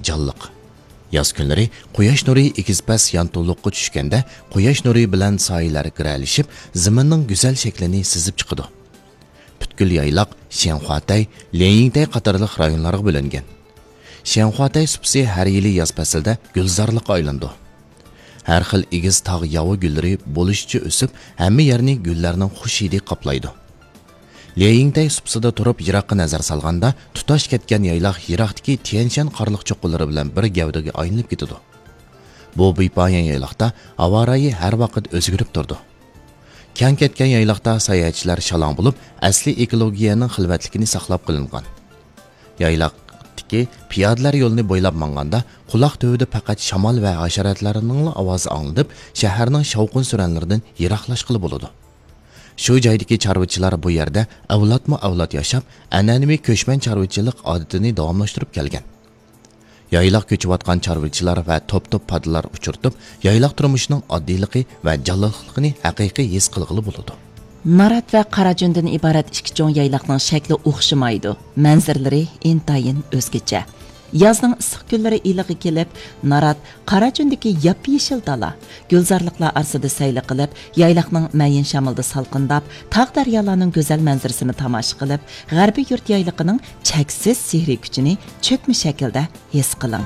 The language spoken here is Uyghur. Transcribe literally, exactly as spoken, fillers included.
جانلىق. ياز كۈنلىرى قۇياش نۇرى ئېگىز-پەس يانتۇلۇققا چۈشكەندە، قۇياش نۇرى بىلەن سايىلەر گىرەلىشىپ، زېمىننىڭ گۈزەل شەكلىنى سىزىپ چىقىدۇ. پۈتكۈل يايلاق شيەنخۇاتەي، ليەنيىڭتەي قاتارلىق رايونلارغا بۆلۈنگەن. شيەنخۇاتەي سۇپىسى ھەر يىلى ياز پەسلىدە گۈلزارلىققا ئايلىنىدۇ. ھەر خىل ئېگىز تاغ ياۋا گۈللىرى بولۇشىچە ئۆسۈپ، ھەممە يەرنى گۈللەرنىڭ خۇش ھىدى قاپلايدۇ. ليەنيىڭتەي سۇپىسىدا تۇرۇپ يىراققا نەزەر سالغاندا، تۇتاش كەتكەن يايلاق يىراقتىكى تيەنشەن قارلىق چوققىلىرى بىلەن بىر گەۋدىگە ئايلىنىپ كېتىدۇ. بۇ بىپايان يايلاقتا ھاۋا رايى ھەر ۋاقىت ئۆزگىرىپ تۇرىدۇ. كەڭ كەتكەن يايلاقتا ساياھەتچىلەر شالاڭ بولۇپ، ئەسلىي ئېكولوگىيەنىڭ خىلۋەتلىكىنى ساقلاپ قېلىنغان. يايلاقتىكى پىيادىلەر يولىنى بويلاپ ماڭغاندا، قۇلاق تۈۋىدە پەقەت شامال ۋە ھاشاراتلارنىڭلا ئاۋازى ئاڭلىنىپ، شەھەرنىڭ شاۋقۇن-سۈرەنلىرىدىن يىراقلاشقىلى بولىدۇ. شۇ جايدىكى چارۋىچىلار بۇ يەردە ئەۋلادمۇ ئەۋلاد ياشاپ، ئەنئەنىۋى كۆچمەن چارۋىچىلىق ئادىتىنى داۋاملاشتۇرۇپ كەلگەن. يايلاق كۆچۈۋاتقان چارۋىچىلار ۋە توپ-توپ پادىلار ئۇچرىتىپ، يايلاق تۇرمۇشىنىڭ ئاددىيلىقى ۋە جانلىقلىقىنى ھەقىقىي ھېس قىلغىلى بولىدۇ. نارات ۋە قاراجۆندىن ئىبارەت ئىككى چوڭ يايلاقنىڭ شەكلى ئوخشىمايدۇ، مەنزىرىلىرى ئىنتايىن ئۆزگىچە. يازنىڭ ئىسسىق كۈنلىرى ئىلىغا كېلىپ، نارات قاراجۆندىكى ياپيېشىل دالا، گۈلزارلىقلار ئارىسىدا سەيلە قىلىپ، يايلاقنىڭ مەيىن شامىلىدا سالقىنداپ، تاغ-دەريالارنىڭ گۈزەل مەنزىرىسىنى تاماشا قىلىپ، غەربىي يۇرت يايلىقىنىڭ چەكسىز سېھرىي كۈچىنى چۆكمە شەكىلدە ھېس قىلىڭ.